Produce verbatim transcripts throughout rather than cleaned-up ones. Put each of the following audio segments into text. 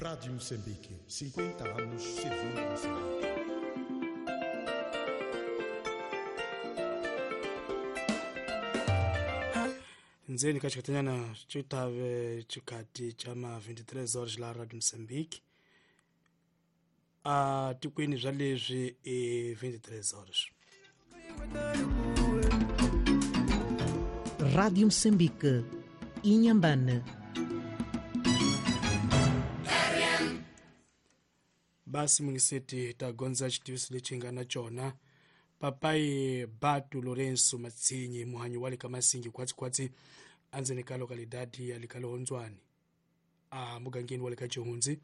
Rádio Moçambique, cinquenta anos servindo Moçambique. Ndzeni ka xikatanyana xitave xikati xa ma vinte e três horas la Radio Moçambique a tikweni bya leswi i vinte e três horas. Rádio Moçambique, Inhambane. Basi mungiseti ta gondza xitiviso lexi nga na cona papai Batu Lourenço Matsinyi, muhanyi wa le ka Masingi khwatsikhwatsi andzeni ka localidade ya le ka Lehondzwani a mugangeni wa le ka Chihundzi,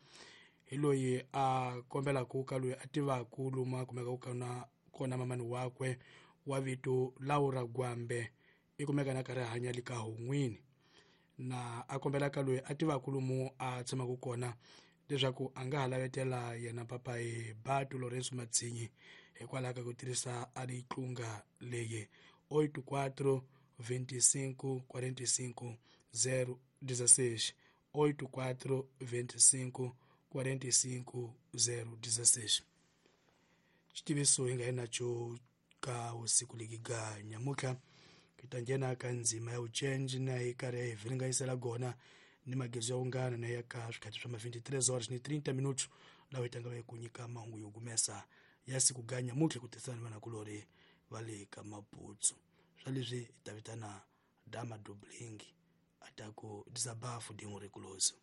hi loyi a kombelaku ka loyi a tivaku lomu a kumekaka kona kona mamani wakwe wa vito Laura Gwambe, i kumeka na karhi hanya le ka Hon'wini, na a kombelaka loyi a tivaku lomu a tshamaka kona leswaku a nga ha lavetela yena papai Batu Lourenço Matsinyi hikwalaho ka ku tirhisa a ritlunga leyi oito quatro vinte e cinco quarenta e cinco zero dezesseis, oito quatro vinte e cinco quarenta e cinco zero dezesseis. Xitiviso hi nga yi naco ka usiku legi ga nyamutlha hi ta nghena ka ndzima ya vucenji na hi karhi hi vhiringanyisela gona ni magezo ya ungana na ya ka swikhathi swa ma vinte e três horas ni trinta minutos lawa hi tanga hi ku nyika mahungu yo gumesa ya siku ga nyamutlha ku tirhisana ni vanakulori va le ka Maputsu. Swa leswi hi ta vitana Dama Dubling a ta ku desabafu de um recluso.